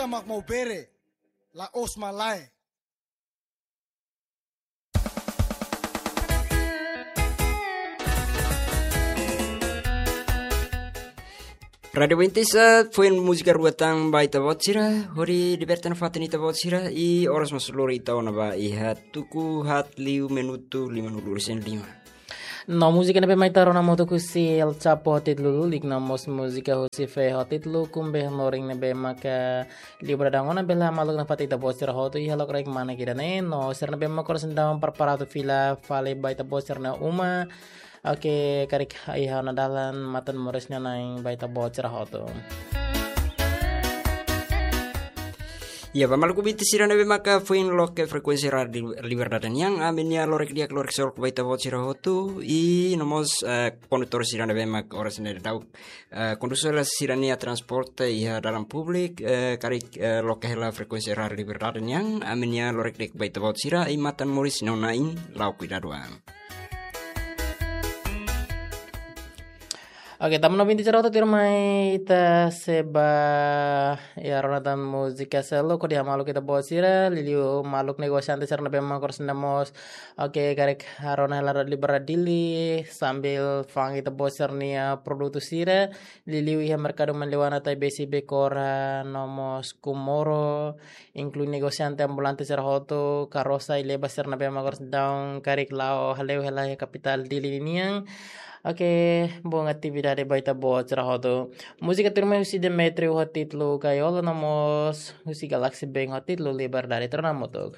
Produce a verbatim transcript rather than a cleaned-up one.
Mak mau bere, la'ós malae. Rádiu Bintisa, foin múzika rua tan ba ita-boot sira, hodi liberta nafatin ita-boot sira, i oras mós lori ita ona ba iha tuku haat liu minutu limanulu-resin-lima. No múzika ne'ebé mak ita rona hamutuk husi El Chapo ho títulu Lulik, no mós múzika husi Fe ho títulu Kumbe Moring ne'ebé maka liu ba dadaun ona, bele hamaluk nafatin ita-boot sira hotu iha lokraik manek ida-ne'e, no sira ne'ebé mak oras ne'e daudaun preparadu fila fali ba ita-boot sira-nia uma. Oke, karik iha ona dalan matan moris nia nain ba ita-boot sira hotu. Ya, ba maluk ouvinte sira ne'ebé maka foin loke frekuénsia Rádiu Liberdade nian, ami-nia lorek di'ak, lorek solok ba ita-boot sira hotu, i no mós, eh, kondutór sira ne'ebé maka oras ne'e daudaun, eh, kondús hela sira-nia transporte iha dalan públiku, eh, karik, eh, loke hela frekuénsia Rádiu Liberdade nian, ami-nia lorek di'ak ba ita-boot sira, i matan moris nia nain, la'o kuidadu an. Oke, tanba ouvinte sira hotu, tuirmai ita sei ba iha rona tan múzika seluk hodi hamaluk ita-boot sira, liuliu maluk negosiante sira ne'ebé maka oras ne'e mós, oke, karik rona hela Rádiu Liberdade Dili, sambil fa'an ita-boot sira-nia produtu sira, liuliu iha merkadu Manleuana, Taibesi, Becora, no mós Comoro, inklui negosiante, ambulante sira hotu, karosa i leba sira ne'ebé maka oras ne'e daudaun karik la'o hale'u hela iha kapitál Dili nian. Oke, bom atividade ba ita-boot sira hotu. Múzika tuirmai husi Demetrio ho títulu Gaiola, no mós husi Galaxy Band ho títulu Liberdade. Ita rona hamutuk.